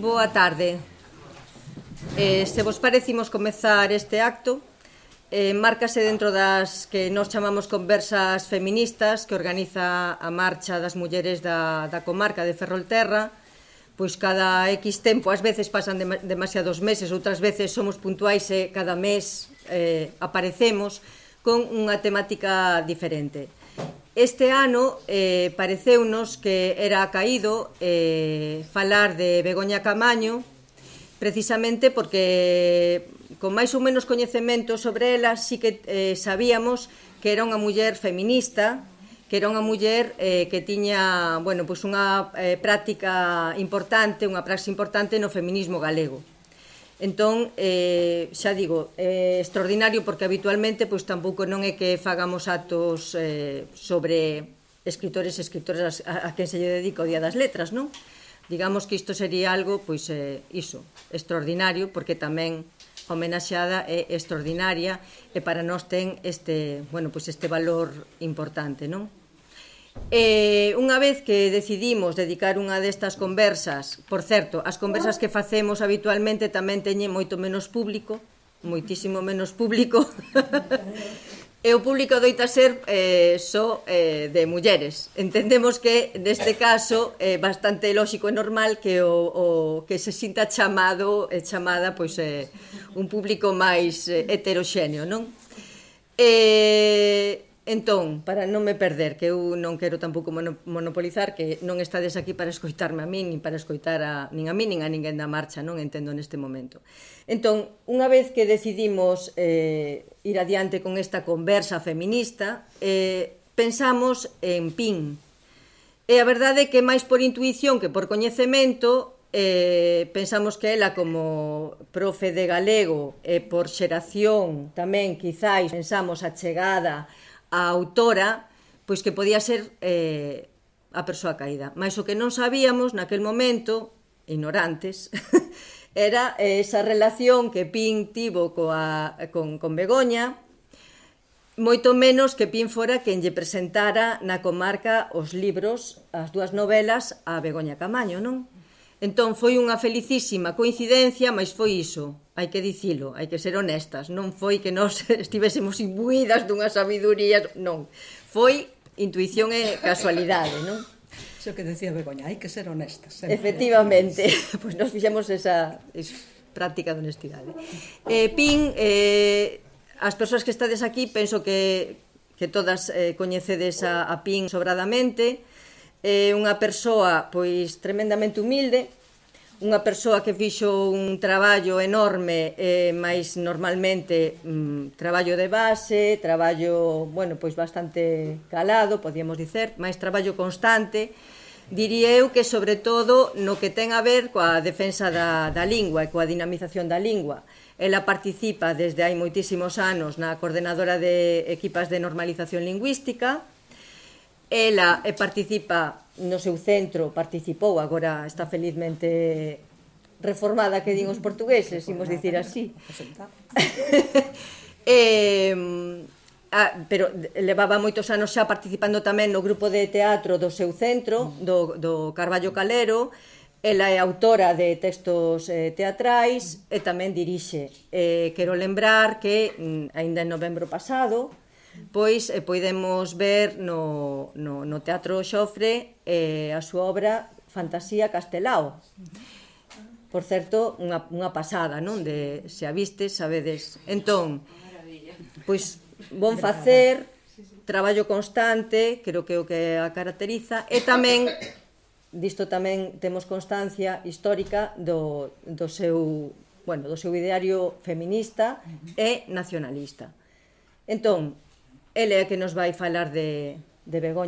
Boa tarde. Se vos parecimos comezar este acto, márcase dentro das que nos chamamos conversas feministas que organiza a Marcha das Mulleres da comarca de Ferrolterra. Pois cada X tempo, ás veces pasan demasiados meses, outras veces somos puntuais e cada mes aparecemos con unha temática diferente. Este ano pareceunos que era caído falar de Begoña Camaño, precisamente porque con máis ou menos coñecemento sobre ela sí que sabíamos que era unha muller feminista, que era unha muller que tiña, bueno, pois unha práctica importante, unha praxe importante no feminismo galego. Entón, xa digo, é extraordinario porque habitualmente pois tampouco non é que fagamos actos sobre escritores e escritoras a quen se lle dedica o Día das Letras, non? Digamos que isto sería algo, pois, iso, extraordinario, porque tamén a homenaxeada é extraordinaria e para nós ten este, bueno, pois este valor importante, non? Unha vez que decidimos dedicar unha destas conversas, por certo, as conversas que facemos habitualmente tamén teñen moito menos público, moitísimo menos público, e o público doita ser só de mulleres. Entendemos que neste caso é bastante lóxico e normal que o que se sinta chamado e chamada pois un público máis heteroxéneo, non? Entón, para non me perder, que eu non quero tampouco monopolizar, que non estades aquí para escoitarme a min, nin para escoitar nin a min, nin a ninguén da marcha, non entendo neste momento. Entón, unha vez que decidimos ir adiante con esta conversa feminista, pensamos en Pin. E a verdade é que máis por intuición que por coñecemento, pensamos que ela como profe de galego e por xeración tamén quizáis pensamos a chegada a autora, pois que podía ser a persoa caída. Mais o que non sabíamos naquel momento, ignorantes, era esa relación que Pin tivo con Begoña, moito menos que Pin fora quen lle presentara na comarca os libros, as dúas novelas a Begoña Camaño, non? Entón foi unha felicísima coincidencia, mas foi iso, hai que dicilo, hai que ser honestas, non foi que nós estivésemos imbuídas dunha sabiduría, non, foi intuición e casualidade, non? Iso que decía Begoña, hai que ser honestas. Efectivamente, pois nos fixemos esa práctica de honestidade. Pin, as persoas que estades aquí, penso que todas coñecedes a Pin sobradamente. É unha persoa pois tremendamente humilde, unha persoa que fixo un traballo enorme, mais normalmente traballo de base, traballo, bueno, pois bastante calado, podíamos dicer, máis traballo constante, diría eu que sobre todo no que ten a ver coa defensa da lingua e coa dinamización da lingua. Ela participa desde hai moitísimos anos na coordenadora de equipas de normalización lingüística. Ela participa no seu centro, participou, agora está felizmente reformada, que din os portugueses, imos dicir así. Pero levaba moitos anos xa participando tamén no grupo de teatro do seu centro, do Carballo Calero. Ela é autora de textos teatrais e tamén dirixe. Quero lembrar que, aínda en novembro pasado, pois podemos ver no Teatro Xofre a súa obra Fantasía Castelao. Por certo, unha pasada, non? Se a vistes, sabedes. Entón, pois, bon facer, traballo constante, creo que é o que a caracteriza, e tamén, disto tamén temos constancia histórica do seu ideario feminista e nacionalista. Entón, ele é que nos vai falar de Begoña